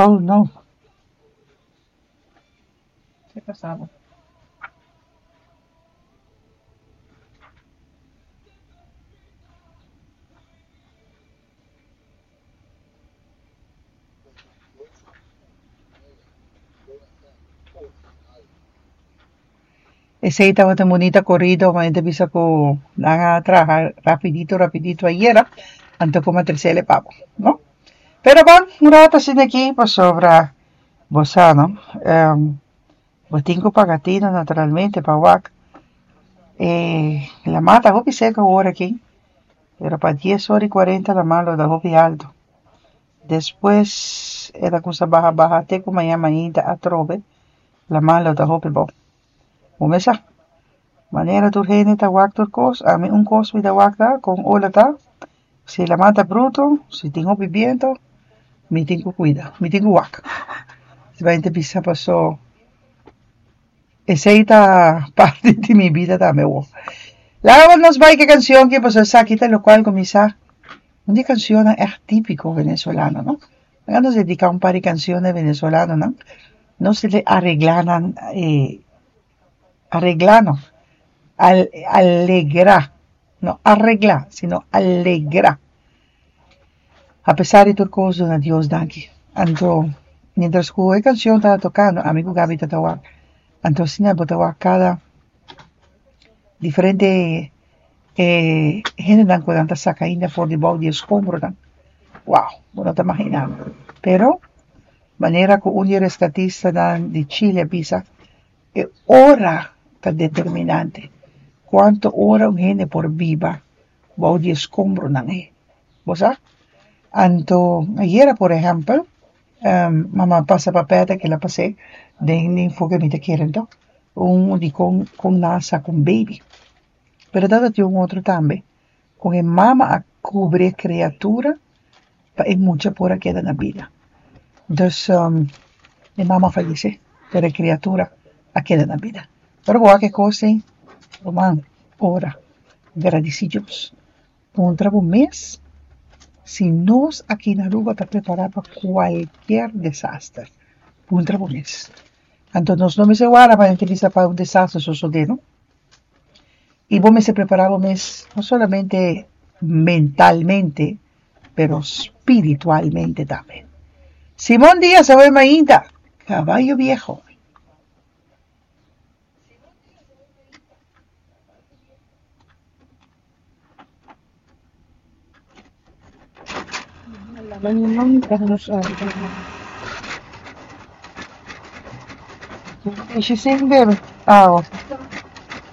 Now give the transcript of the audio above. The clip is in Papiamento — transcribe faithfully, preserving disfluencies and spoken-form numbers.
Oh no. Ki pasaba? Esey tabata un bunita corido, ma ta bisa cu nan a traha rapidito, rapidito ayera, anto como a trecele pa bo, no? Pero bon, un rato asina aki pasobra bo sa, no? Um, bo tin cu paga tino naturalmente pa wak. E lama ta hopi seco awor aki, pero pa dies or y cuarenta lama lo ta hopi alto. Despues e ta cuminsa baha baha te cu mañana mainta atrobe lama lo ta hopi abou. Bo mes sa, manera tur hende ta wak tur cos, ami un cos mi ta wak ta con ola ta, si lama ta bruto, si tin hopi biento, mi tin cu cuida, mi tin cu wak. Si bay ta bisa paso esey ta parti di mi bida tambe awor. Laga nos bay cu e cancion aki pasobra esaki ta locual cu mi sa un di e cancionnan echt tipico venezolano, no? Laga nos dedica un par di cancionnan venezolanonan. Nos aregla nan, eh, aregla no, al, alegra, no aregla, sino alegra. A pesar di tur cos, duna Dios danki. Anto, mientras cu e cancion taba tocando, ami cu Gabi tata wak. Anto asina bo ta wak cada diferente eh, hendenan cu nan ta saca ainda for di bou di escombronan. Wow, bo no ta imagina. Pero, manera cu un di e rescatistanan di Chile a bisa, e ora ta determinante. Cuanto ora un hende por biba bou di escombronan ei. Bo sa? Anto, ayera por ehempel, um, mama pasa pa peta que la pasé den enfoke mi ta kere anto, un di con con nan a saca un baby. Pero tabatin un otro tambe, con e mama a cubri e criatura pa e mucha por a keda na bida. Dus um, e mama a fayece, pero e criatura a keda na bida. Pero bo wak e cos ei, ruman, ora, gradici Dios. Puntra bo mes si nos aki na Aruba ta prepara pa cualkier desaster. Puntra bo mes. Anto nos no mester warda pa bisa pa un desaster sosode, no? Y bo mester prepara bo mes no solamente mentalmente, pero spiritualmente tambe. Simón Díaz, awe mainta, Caballo Viejo. Is she sing, baby? Oh.